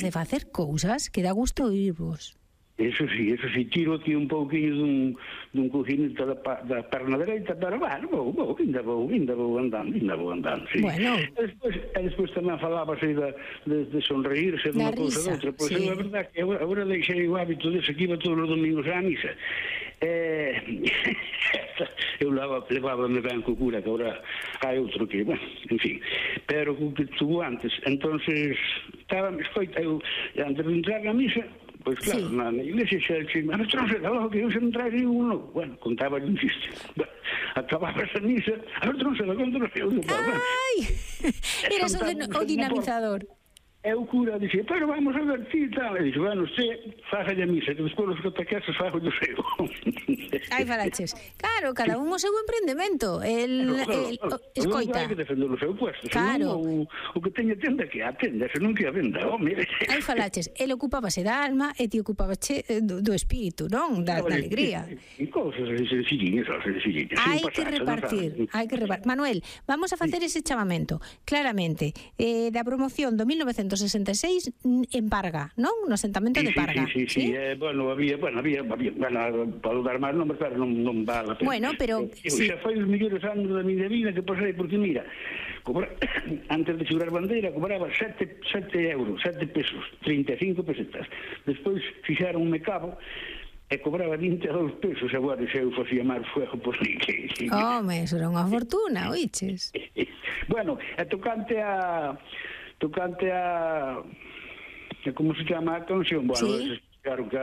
de facer cousas que dá gusto oírvos. Eso sí, tiro aquí un pouquinho dun coginito da perna dereita, pero bueno, ainda vou andando, sí. Bueno. E despois tamén falabas aí de sonreírse dunha cousa doutra, pois é verdade que agora deixei o hábito dese que iba todos os domingos á misa. Eu levaba-me ben co cura, que agora hai outro que, bueno, en fin, pero o que tuvo antes, entonces escoita, eu antes de entrar na misa, pois claro, na iglesia xa dixen, mas trouxe da logo que eu se non traxe uno. Bueno, contaba un chiste. Acababa esa misa, a ver, trouxe da contra eu. Ai! Eras o dinamizador. E o cura dixe, pero vamos a ver ti e tal. E dixe, bueno, usted fájalle a misa, que despois os catequeses fajo o seu. Ai, falaches. Claro, cada un o seu emprendemento. Escoita. Hai que defender o seu puesto. Claro. O que teña tenda que atenda, se non que a venda. Ai, falaches. El ocupábase da alma e ti ocupábache do espírito, non? Da alegría. E cousas sencilliñas. Hai que repartir. Manuel, vamos a facer ese chamamento. Claramente, da promoción do 1966 en Parga, non? No asentamento de Parga. Sí. Bueno, había, para dar máis nombres, claro, non vale a pena. Bueno, pero... Xa foi os mellores anos da miña vida que pasei, porque mira, antes de xurar bandeira, cobraba 7 euros, 7 pesos, 35 pesetas. Despois fixaronme cabo, e cobraba 22 pesos, agora xa eu facía máis fuego, pois que... Home, eso era unha fortuna, oiches? Bueno, e tocante a como se chama a canción, bueno, claro que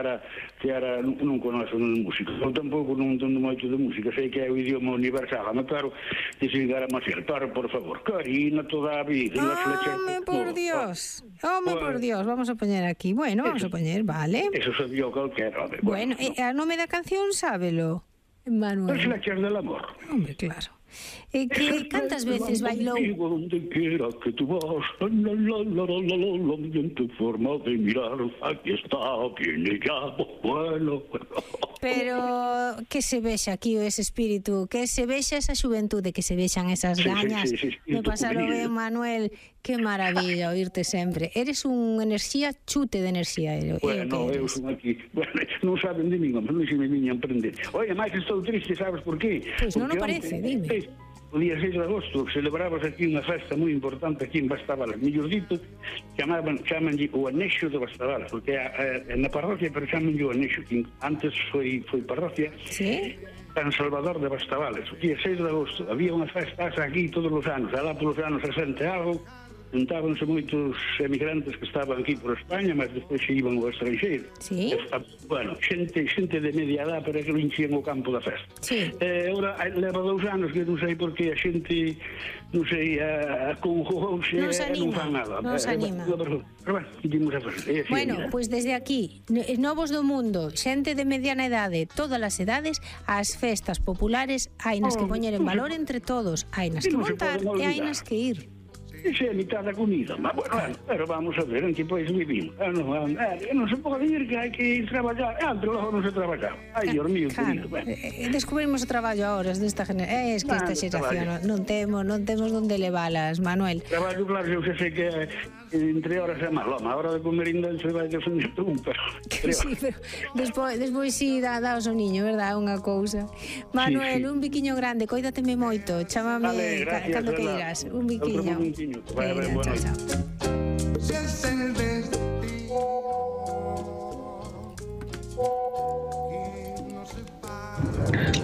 era non conoce de música, eu tampouco non entendo moito de música, sei que é o idioma universal, mas claro, desligar a Maciel, pero por favor, Karina toda a vida, home, por Dios, vamos a poñer aquí, bueno, vamos a poñer, vale. Eso sabía calquera. Bueno, a nome da canción sábelo, Manuel. As flechas del amor. Hombre, claro. Que cantas veces bailou? Donde quiera que tú vas, en tu forma de mirar, aquí está, viene ya, bueno. Pero que se vexa aquí ese espírito, que se vexa esa xuventude, que se vexan esas gañas de pasalo ben, Manuel. Que maravilla oírte sempre. Eres un enerxía, chute de enerxía. Bueno, eu son aquí. Bueno, non saben de mí, non se me viñan prender. Oye, máis estou triste, sabes por qué? Pois non o parece, dime. O día 6 de agosto celebrabas aquí unha festa moi importante aquí en Bastabalas. Mellor dito, chamanlle o Anexo de Bastabalas, porque na parroquia, pero chamanlle o Anexo. Antes foi parroquia. Sí? San Salvador de Bastabalas. O día 6 de agosto había unha festa aquí todos os anos, alá polos anos 60 algo, juntábanse moitos emigrantes que estaban aquí por España, mas despois se iban ao estranxeiro. Sí. Bueno, xente de media edad, pero que non enchían o campo da festa. Sí. Agora, leva 2 anos que non sei por que a xente, non sei, conjugouse e non fan nada. Non se anima. Pero bueno, dimos a fazer. Bueno, pois desde aquí, novos do mundo, xente de mediana idade, todas as edades, as festas populares hainas que poñer en valor entre todos, hainas que montar e hainas que ir. Esa é a mitad da comida, mas bueno, pero vamos a ver en que país vivimos. Non se pode ir que hai que ir traballar, antes logo non se traballaba. Ai, Dios mío, querido. Descubrimos o traballo a horas desta generación. Es que esta xeración non temos donde levalas, Manuel. Traballo, claro, eu sei que entre horas é malo, a hora de comer ainda se vai defender un, pero... Sí, pero despois sí dá o niño, verdad? Unha cousa. Manuel, un biquiño grande, coídateme moito, chámame cando queiras, un biquiño. Bueno. Chao.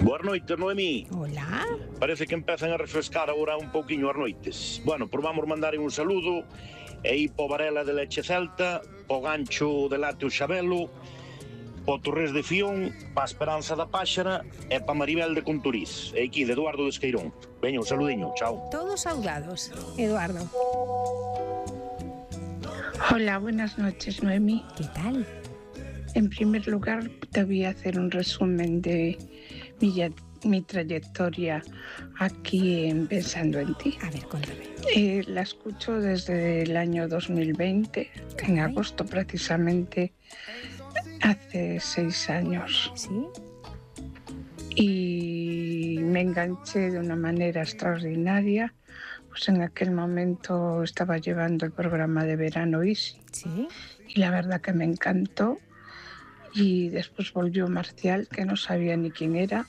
Boas noites, Noemí. Hola. Parece que empezan a refrescar agora un pouquiño as noites. Bueno, por vamos mandar un saludo e ir po Varela de Leche Celta, po Gancho de Lácteo Xabelo, po Torres de Fión, pa Esperanza da Páxara e pa Maribel de Conturiz. E aquí de Eduardo de Esqueirón. Veña, un saludiño, chao. Todos saudados, Eduardo. Hola, buenas noches, Noemí. ¿Qué tal? En primer lugar, te voy a hacer un resumen de mi trayectoria aquí en Pensando en Ti. A ver, cuéntame. La escucho desde el año 2020, en agosto precisamente, hace 6 años. ¿Sí? Y me enganché de una manera extraordinaria. Pues en aquel momento estaba llevando el programa de verano Easy. ¿Sí? y la verdad que me encantó. Y después volvió Marcial, que no sabía ni quién era,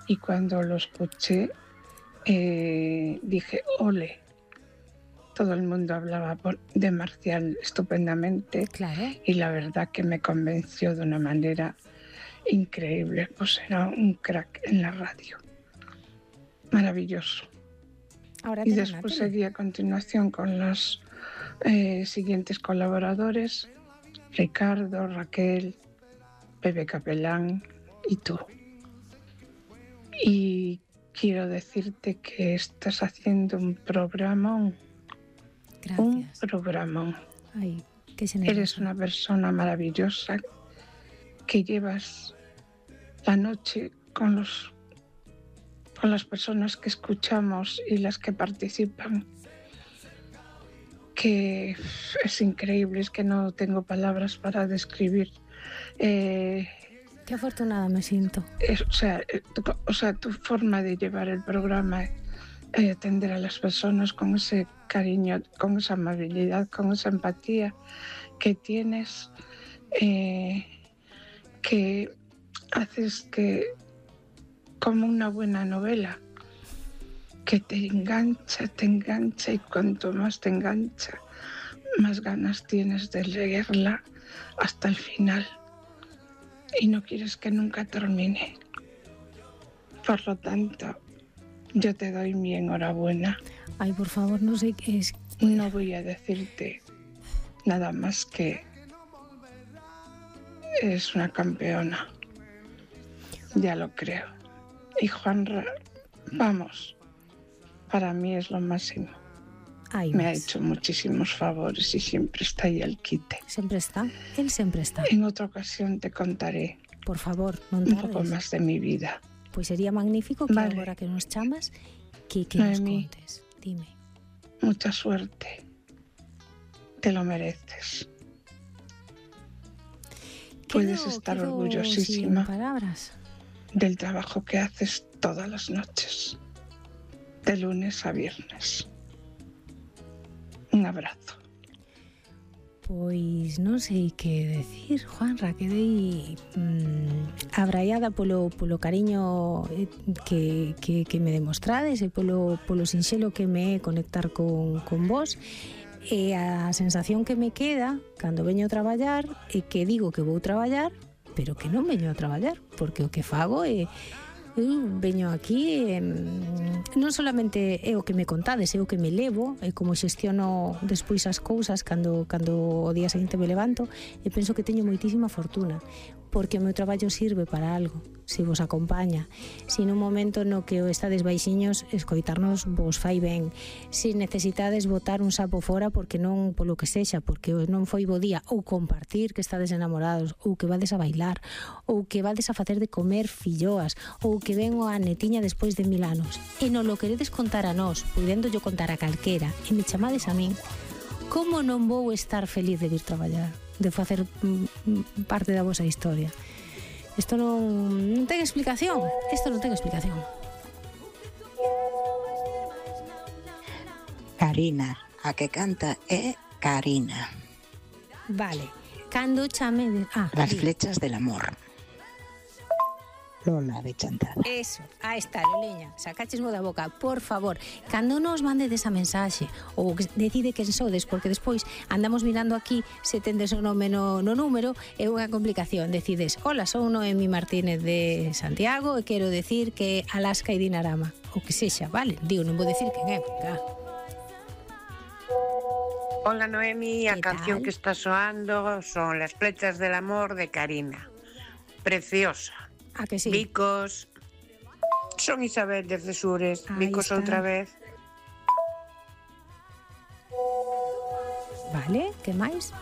y cuando lo escuché dije, ole. Todo el mundo hablaba de Marcial estupendamente, claro. Y la verdad que me convenció de una manera increíble. Pues era un crack en la radio. Maravilloso. Ahora y después seguí a continuación con los siguientes colaboradores: Ricardo, Raquel, Pepe Capelán y tú. Y quiero decirte que estás haciendo un programón. Gracias. Un programón. Ay, qué generosa. Eres una persona maravillosa que llevas la noche con las personas que escuchamos y las que participan, que es increíble, es que no tengo palabras para describir. Qué afortunada me siento. O sea, tu forma de llevar el programa, atender a las personas con ese cariño, con esa amabilidad, con esa empatía que tienes, que haces que, como una buena novela, que te engancha y cuanto más te engancha, más ganas tienes de leerla hasta el final y no quieres que nunca termine. Por lo tanto, yo te doy mi enhorabuena. Ay, por favor, no sé qué es. No voy a decirte nada más que eres una campeona. Ya lo creo. Y Juanra, vamos, para mí es lo máximo. Ay, me ha hecho muchísimos favores y siempre está ahí al quite. Siempre está, él siempre está. En otra ocasión te contaré, por favor, non un tardes, poco más de mi vida. Pois sería magnífico que vale. Agora que nos chamas que nos contes. Dime. Mucha suerte. Te lo mereces. Puedes estar orgullosísima sin palabras del trabajo que haces todas las noches, de lunes a viernes. Un abrazo. Pois non sei que decir, Juanra, quedei abraiada polo cariño que me demostrades e polo sinxelo que me é conectar con vos. E a sensación que me queda cando veño a traballar é que digo que vou traballar, pero que non veño a traballar, porque o que fago é veño aquí non solamente é o que me contades, é o que me levo, é como xestiono despois as cousas cando o día seguinte me levanto, e penso que teño moitísima fortuna, porque o meu traballo sirve para algo, se vos acompaña, se nun momento no que estades baixiños escoitarnos vos fai ben, se necesitades botar un sapo fora porque non, polo que sexa, porque non foi bo día, ou compartir que estades enamorados, ou que vades a bailar, ou que vades a facer de comer filloas, ou que ven a netiña despois de 1000 anos, e non lo queredes contar a nós, podendo yo contar a calquera, e me chamades a min, como non vou estar feliz de vir traballar, de facer parte da vosa historia? Isto non ten explicación. Isto non ten explicación. Karina, a que canta é Karina. Vale. Cando chame... Las flechas del amor. Lola de Chantada. Eso, aí está, Loliña, sacáchesmo da boca, por favor, cando nos mandedes a mensaxe ou decide quen sodes, porque despois andamos mirando aquí se tendes o nome no número, é unha complicación, decides, hola, son Noemi Martínez de Santiago e quero decir que Alaska e Dinarama, o que sexa, vale, digo, non vou decir quen é, claro. Hola Noemi, a canción que está soando son Las flechas del amor de Karina, preciosa. ¿A que sí? Vicos, son Isabel de Cesures, Vicos está. Outra vez. Vale, que máis?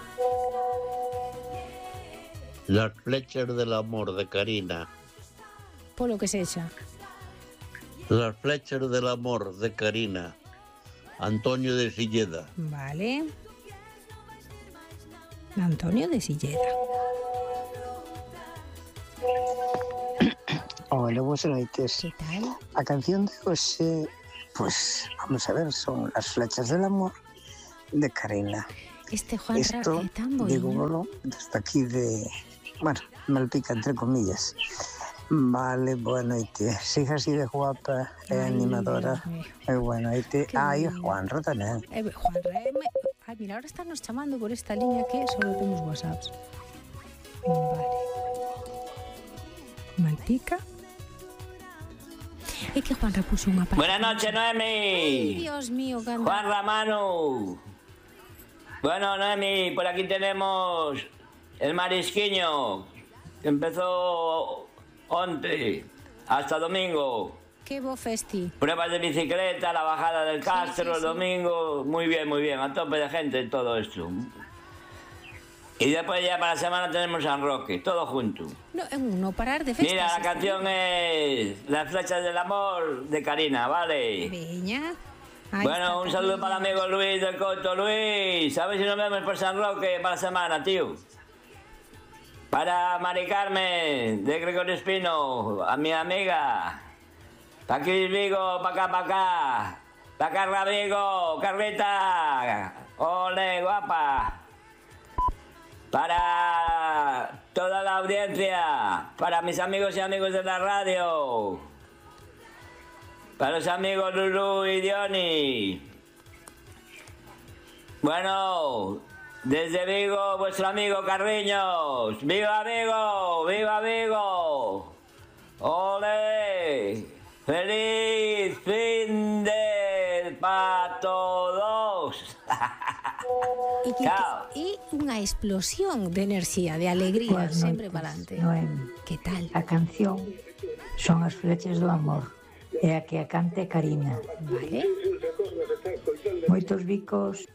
Las flechas del amor de Karina. Polo que sexa. Las flechas del amor de Karina. Antonio de Silleda. Vale. Antonio de Silleda. Hola, boas noites. Que tal? A canción de hoxe, pues, vamos a ver, son Las flechas del amor de Karina. Este Juan Ra é tan boino. Digo, desde aquí de... Bueno, Malpica, entre comillas. Vale, boa noite. Siga así de guapa e animadora. Boa noite. Ai, Juanra tamén. Juanra, ai, mira, ahora están nos chamando por esta liña que solo temos WhatsApps. Vale. Malpica. É que Juanra puso unha parte. Buenas noches, Noemi. Ay, Dios mío, canta. Juanra, Manu. Bueno, Noemi, por aquí tenemos el marisquiño, que empezó onte hasta domingo. Qué bo festi. Pruebas de bicicleta, la bajada del Castro, el domingo. Muy bien, a tope de gente todo esto. Y después ya para la semana tenemos San Roque, todo junto. No parar de festas. Mira, la canción es Las flechas del amor de Karina, ¿vale? Veña. Bueno, un saludo para el amigo Luis del Coto. Luis, a ver si nos vemos por San Roque para la semana, tío. Para Mari Carmen, de Gregorio Espino, a mi amiga. Pa' aquí Vigo, pa' acá. Pa' acá, Vigo, Carlita. Ole, guapa. Para toda la audiencia. Para mis amigos y amigos de la radio. Para los amigos Lulu y Diony. Bueno... Desde Vigo, vuestro amigo Carriños. ¡Viva Vigo! ¡Viva Vigo! ¡Ole! ¡Feliz fin de para todos! Chao. Y una explosión de enerxía, de alegría, sempre para adelante. Noemi, que tal? A canción son As flechas do amor. E a que a cante Karina. Vale. Moitos bicos...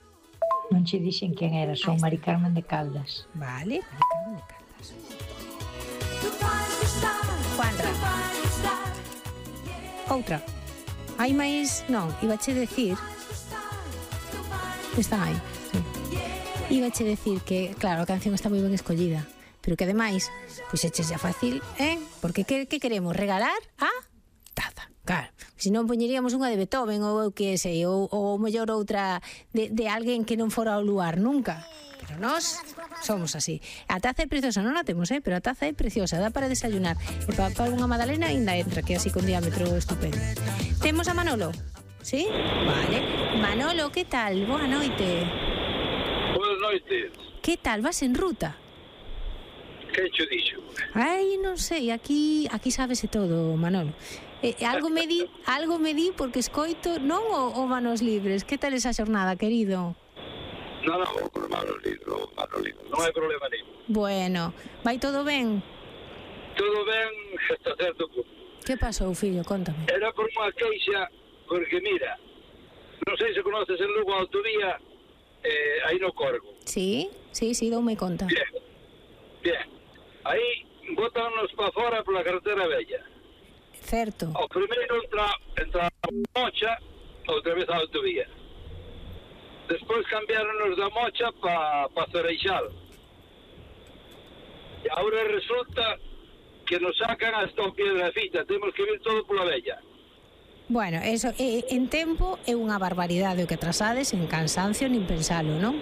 Non che dixen quen era, son Mari Carmen de Caldas. Vale, Mari Carmen de Caldas. Juanra. Outra. Hai máis... Non, ibache decir... Están aí, sí. Ibache decir que, claro, a canción está moi ben escollida, pero que ademais, pois eches xa fácil, Porque que queremos? Regalar a taza. Claro, se non poñeríamos unha de Beethoven ou que sei, ou mellor outra de alguén que non fora ao luar nunca. Pero nós somos así. A taza é preciosa, non a temos, pero a taza é preciosa, dá para desayunar. E para unha magdalena ainda entra, que é así con diámetro estupendo. Temos a Manolo, ¿sí? Vale. Manolo, que tal? Boa noite. Boas noites. Que tal? Vas en ruta? Que cho dixo? Ai, non sei, aquí sábese todo, Manolo. Algo me di porque escoito, non o Manos Libres. Que tal esa xornada, querido? Non, Manos Libres, non hai problema nenhum. Bueno, vai todo ben? Todo ben hasta certo punto. Que pasou, fillo? Contame. Era por unha queixa, porque mira, non sei se conoces en Lugo a autovía, aí no Corgo. Sí, doume conta. Bien. Aí botanos para fora pola carretera vella. Certo. O primeiro entra a Mocha, outra vez a autovía. Despois cambiaronos da Mocha para Cereixal. E agora resulta que nos sacan hasta o Piedrafita, temos que vir todo pola vella. Bueno, eso en tempo é unha barbaridade o que atrasades, en cansancio nin pensalo, non?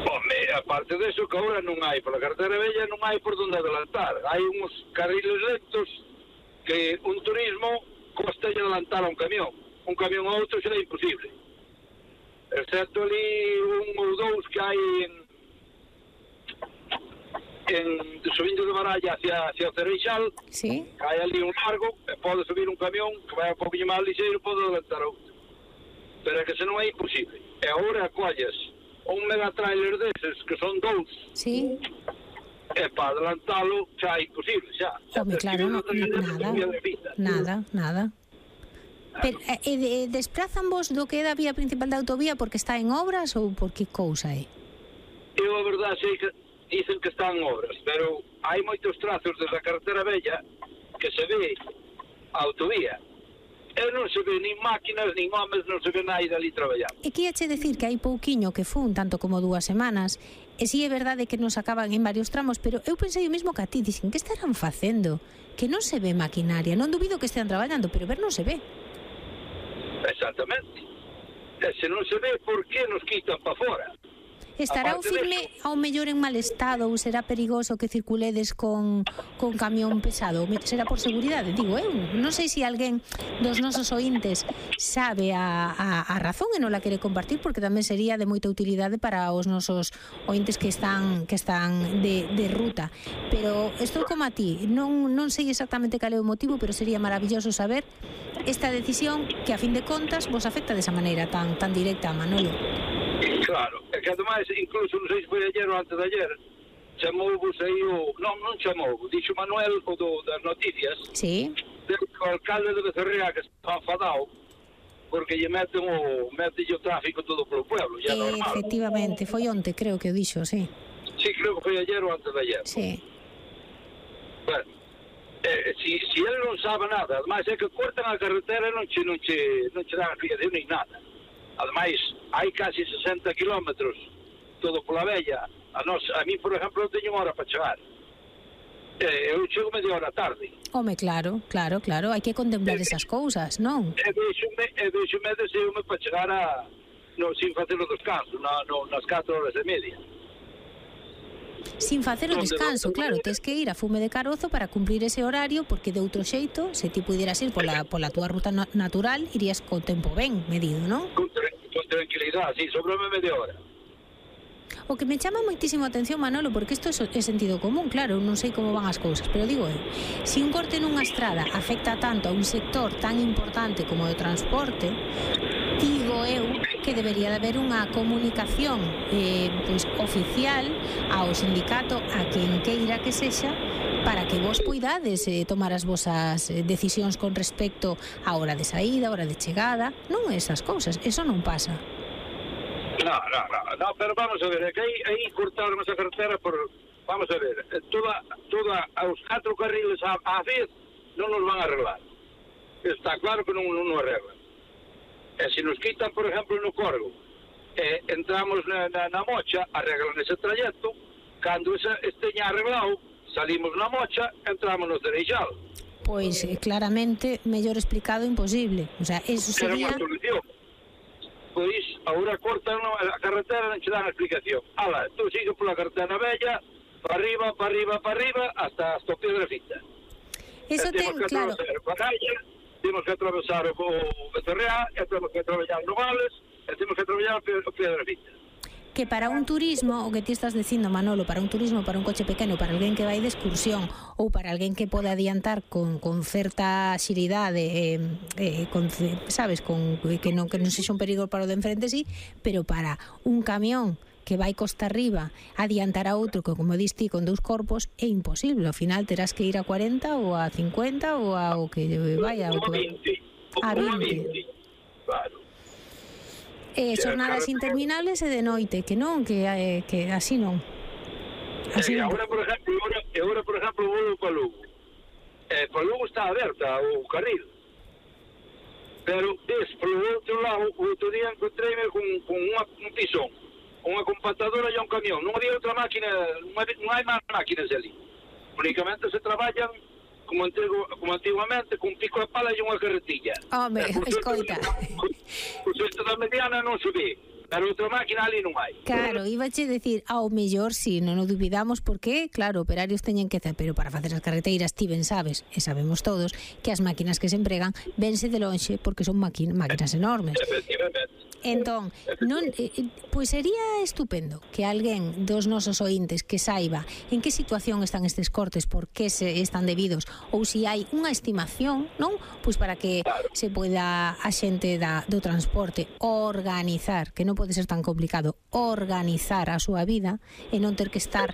Home, aparte deso que agora non hai, pola carretera vella non hai por donde adelantar. Hai uns carriles lentos que un turismo costa adelantar a un camión a outro será imposible, excepto ali un ou dous que hai subindo de Baralla hacia Cereixal, sí. Que hai ali un largo e pode subir un camión que vai un pouquinho máis lixeiro, pode adelantar a outro, pero é que se non é imposible. E agora colles un megatrailer deses que son dous, sí. E para adelantalo xa é imposible, xa. Home, claro, nada. Pero, desplazan vos do que é da vía principal da autovía porque está en obras ou por que cousa é? Eu a verdade sei que dicen que están en obras, pero hai moitos trazos desde a carretera vella que se ve a autovía. E non se ve nin máquinas, nin homes, non se ve nada ali traballando. E que iache decir que hai pouquiño que fun, tanto como 2 semanas, e si é verdade que nos acaban en varios tramos, pero eu pensei o mesmo que a ti, dicen, que estarán facendo? Que non se ve maquinaria, non dubido que estean traballando, pero ver non se ve. Exactamente. E se non se ve, por que nos quitan para fora? Estará o firme ao mellor en mal estado ou será perigoso que circuledes con camión pesado? Será por seguridade, digo eu. Non sei se alguén dos nosos ointes sabe a razón e non la quere compartir, porque tamén sería de moita utilidade para os nosos ointes que están de ruta. Pero estou como a ti, non sei exactamente cal é o motivo, pero sería maravilloso saber esta decisión que a fin de contas vos afecta desa maneira tan directa, Manolo. Claro, é que ademais, incluso non sei se foi ayer ou antes de ayer, chamou-vos aí non chamou, dixo Manuel o das noticias, sí, o alcalde de Becerrea que está enfadado porque lle meten o tráfico todo polo pueblo, ya normal. Efectivamente, foi onte, creo que o dixo, sí. Sí, creo que foi ayer ou antes de ayer. Sí. Bueno, si ele non sabe nada, ademais é que cortan a carretera e non che dan explicación nin nada. Ademais, hai casi 60 kilómetros todo pola vella. A mí, por exemplo, eu teño unha hora para chegar. Eu chego media hora tarde. Home, claro, hai que contemplar esas cousas, non? E deixo-me deseume para chegar sin facer o descanso, nas 4 horas e media. Sin facer o descanso, claro, tes que ir a fume de carozo para cumplir ese horario, porque de outro xeito, se ti pudieras ir pola túa ruta natural, irías co tempo ben medido, non? Con tranquilidade, sí, sobrame media hora. O que me chama moitísimo a atención, Manolo, porque isto é sentido común, claro, non sei como van as cousas, pero digo eu, se un corte nunha estrada afecta tanto a un sector tan importante como o transporte, digo eu que debería de haber unha comunicación oficial ao sindicato, a quen queira que sexa, para que vos poidades tomar as vosas decisións con respecto á hora de saída, á hora de chegada, non esas cousas, eso non pasa. No, pero vamos a ver, é que aí cortaron esa carretera vamos a ver, toda os 4 carriles á vez non nos van a arreglar. Está claro que non nos arreglan. E se nos quitan, por exemplo, no Corgo, entramos na Mocha, arreglan ese trayecto, cando esteña arreglado, salimos na Mocha, entramos no Cereixal. Pois, claramente, mellor explicado imposible. O sea, eso sería... Pois, agora cortan a carretera, non che dan a explicación. Tú sigue pola carretera bella, para arriba, hasta o Piedrafita. Eso ten, claro. Temos que atravesar o Becerrea, temos que atravesar Nogales, temos que atravesar o Piedrafita. Que para un turismo, o que ti estás dicindo, Manolo, para un turismo, para un coche pequeno, para alguén que vai de excursión, ou para alguén que pode adiantar con certa xiridade, sabes, que non sexa un perigo para o de enfrente, sí, pero para un camión que vai costa arriba adiantar a outro que, como diste, con 2 corpos, é imposible. Ao final terás que ir a 40 ou a 50 ou a o que vaya. A 20. Claro. Xornadas interminables e de noite, que non, que así non. Agora, por exemplo, vou para Lugo. Para Lugo está aberta o carril. Pero polo outro lado, o outro día encontreime con un pisón, unha compactadora e un camión. Non había outra máquina, non hai máis máquinas ali. Únicamente se traballan como antiguamente, con pico de pala e unha carretilla. Home, escoita. O cesto da mediana non se ve, pero outra máquina ali non hai. Claro, ibache decir, ao mellor si, non o dubidamos, porque, claro, operarios teñen que hacer, pero para facer as carreteiras ti ben sabes, e sabemos todos, que as máquinas que se empregan vense de lonxe porque son máquinas enormes. Efectivamente. Entón, pois sería estupendo que alguén dos nosos ointes que saiba en que situación están estes cortes, por que se están debidos, ou se hai unha estimación, non? Pois para que se poida a xente do transporte organizar, que non pode ser tan complicado, organizar a súa vida e non ter que estar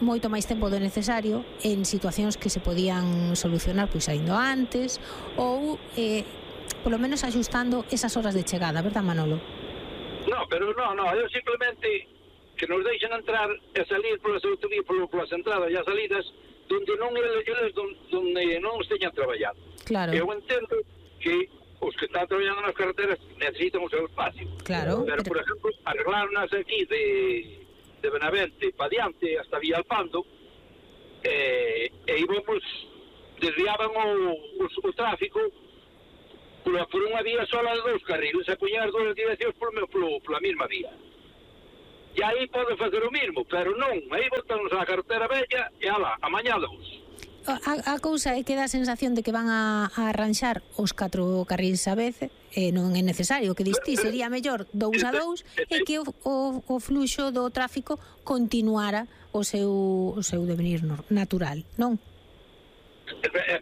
moito máis tempo do necesario en situacións que se podían solucionar pois saindo antes ou polo menos axustando esas horas de chegada, verdad, Manolo? No, pero eu simplemente que nos deixen entrar e salir polas autovías, polas entradas e as salidas donde non esteñan traballando. Claro. Eu entendo que os que están traballando nas carreteras necesitan o seu espacio. Claro. Pero, por exemplo, arreglarnos aquí de Benavente para diante hasta Villalpando e íbamos, desviaban o tráfico por unha vía sola de 2 carriles, e poñer as 2 direccións pola mesma vía. E aí pode facer o mismo, pero non, aí botanos a carretera bella e alá, amañá dous. A cousa é que dá a sensación de que van a arranxar os 4 carrís a vez, non é necesario, que distí sería mellor 2 a 2 e que o fluxo do tráfico continuara o seu devenir natural, non?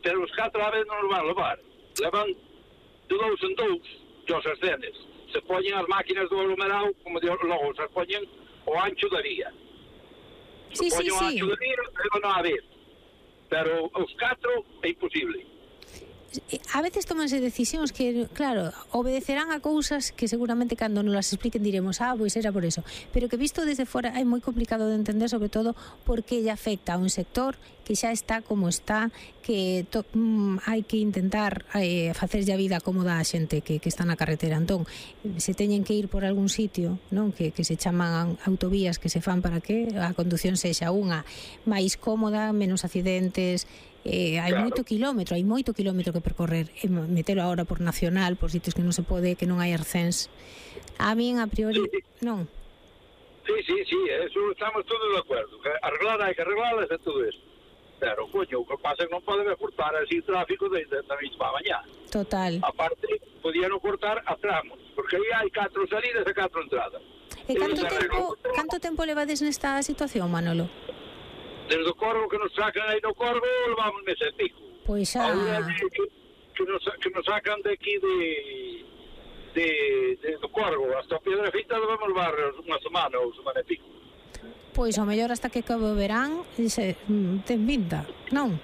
Pero os 4 a vez non os van levar, levan de 2 en 2 os ascenes, se poñen as máquinas do aglomerado, como logo se poñen o ancho da vía. Se poñen o ancho da vía, levan a vez. Pero os 4 é imposible. A veces tomanse decisións que, claro, obedecerán a cousas que seguramente cando nos las expliquen diremos, pois era por eso, pero que visto desde fora é moi complicado de entender, sobre todo porque lle afecta a un sector que xa está como está, que hai que intentar facerlle a vida cómoda a xente que está na carretera. Entón, se teñen que ir por algún sitio, non, que se chaman autovías que se fan para que a condución sexa unha máis cómoda, menos accidentes. Hai moito kilómetro que percorrer, metelo agora por nacional, por sitios que non se pode, que non hai arcens. A min a priori non. Sí, eso estamos todos de acordo, que hai que arreglarlas e todo eso. Pero, coño, o que pasa é que non podemos cortar así o tráfico desde a mesma mañá. Total. Aparte, podían cortar a tramos, porque aí hai 4 salidas e 4 entradas. E canto tempo levades nesta situación, Manolo? Desde o Corvo que nos sacan aí no Corvo, levamos mes e pico. Pois xa... Ahora que nos sacan de aquí do Corvo hasta a Piedrafita, debemos levar unha semana ou semana e pico. Pois ao mellor hasta que acabe o verán, ten pinta, non?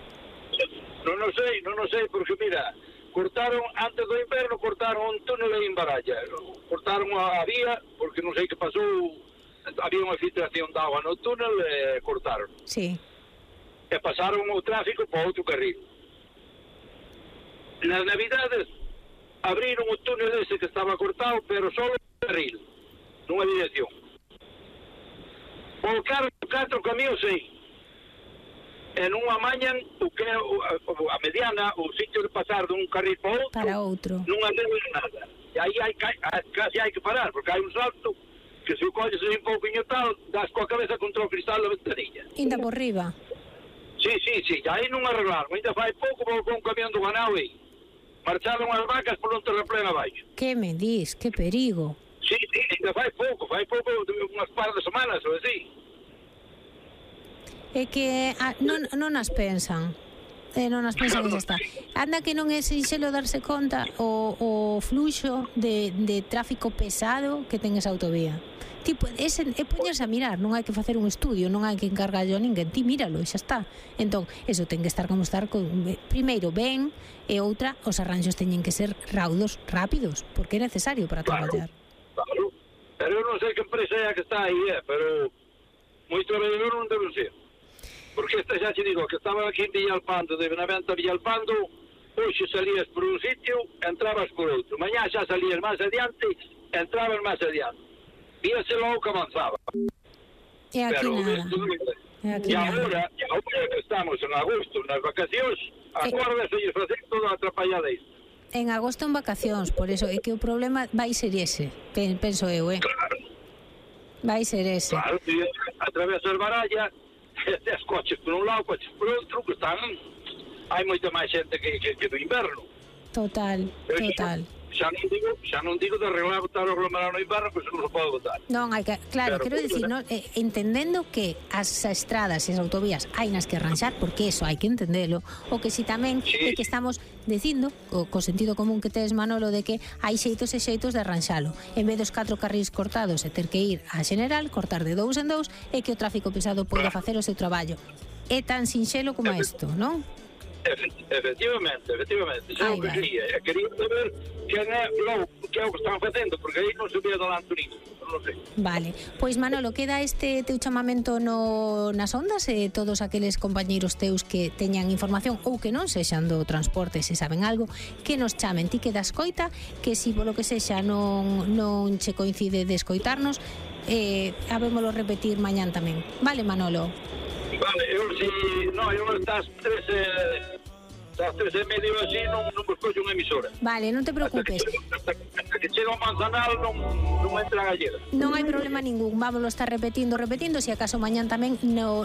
Non sei, porque mira, cortaron, antes do inverno, cortaron un túnel en Baralla. Cortaron a vía, porque non sei que pasou... Había unha filtración de agua no túnel e cortaron. Sí. E pasaron o tráfico para outro carril. Nas Navidades abriron o túnel ese que estaba cortado, pero só un carril, nunha dirección. Volcaron 4 camións aí. E non amañan o que é a mediana, o sitio de pasar dun carril para outro. Non adeus nada. E aí casi hai que parar, porque hai un salto que se o colles un pouquinho tal, das coa cabeza contra o cristal da ventanilla. Ainda por riba. Sí, aí non arreglaron, ainda fai pouco volcou un camión do ganado aí. Marcharon as vacas por un terraplén abaixo. Que me dis, que perigo. Sí, ainda fai pouco, unhas par de semanas ou así. É que non as pensan. Non as pensan que xa está. Anda que non é sinxelo darse conta o fluxo de tráfico pesado que ten esa autovía. Tipo, é poñerse a mirar, non hai que facer un estudio, non hai que encargarlo a ninguén, ti míralo e xa está. Entón, eso ten que estar como estar primeiro ben, e outra, os arranxos teñen que ser raudos, rápidos, porque é necesario para traballar. Claro, pero eu non sei que empresa é a que está aí, pero moito traballador non debe ser. Porque esta xa te digo, que estaba aquí en Villalpando, de Benavente a Villalpando, hoxe salías por un sitio, entrabas por outro. Mañá xa salías máis adiante, entrabas máis adiante. Víase logo que avanzaba. E aquí nada. E agora que estamos en agosto, nas vacacións, agora se lle facer toda a atrapallada isto. En agosto en vacacións, por eso é que o problema vai ser ese, penso eu, Claro. Vai ser ese. Claro, atravesas Baralla, tes coches por un lado, coches por outro, que están... Hai moita máis xente que do inverno. Total. Xa non digo de arreglar botar o aglomerado no inverno, pois non se pode botar. Non, hai que, claro, quero dicir, entendendo que as estradas e as autovías hai nas que arranxar, porque eso hai que entendelo, o que si tamén é que estamos dicindo, co sentido común que tes, Manolo, de que hai xeitos e xeitos de arranxalo. En vez dos 4 carrís cortados e ter que ir a General, cortar de 2 en 2, e que o tráfico pesado poida facer o seu traballo. É tan sinxelo como isto, non? Efectivamente. Xa o que quería saber que é o que están facendo, porque aí non se ve adelante nisso, non sei. Vale, pois Manolo, queda este teu chamamento nas ondas e todos aqueles compañeiros teus que teñan información ou que non sexan do transporte, se saben algo, que nos chamen. Ti queda escoita, que si polo que sexa non che coincide de escoitarnos, habémolo repetir mañán tamén. Vale, Manolo? Vale, eu estás 3:30 así non vos coxo unha emisora. Vale, non te preocupes. que chega o manzanal non entra a gallega. Non hai problema ningún, vámoslo estar repetindo, se acaso mañán tamén no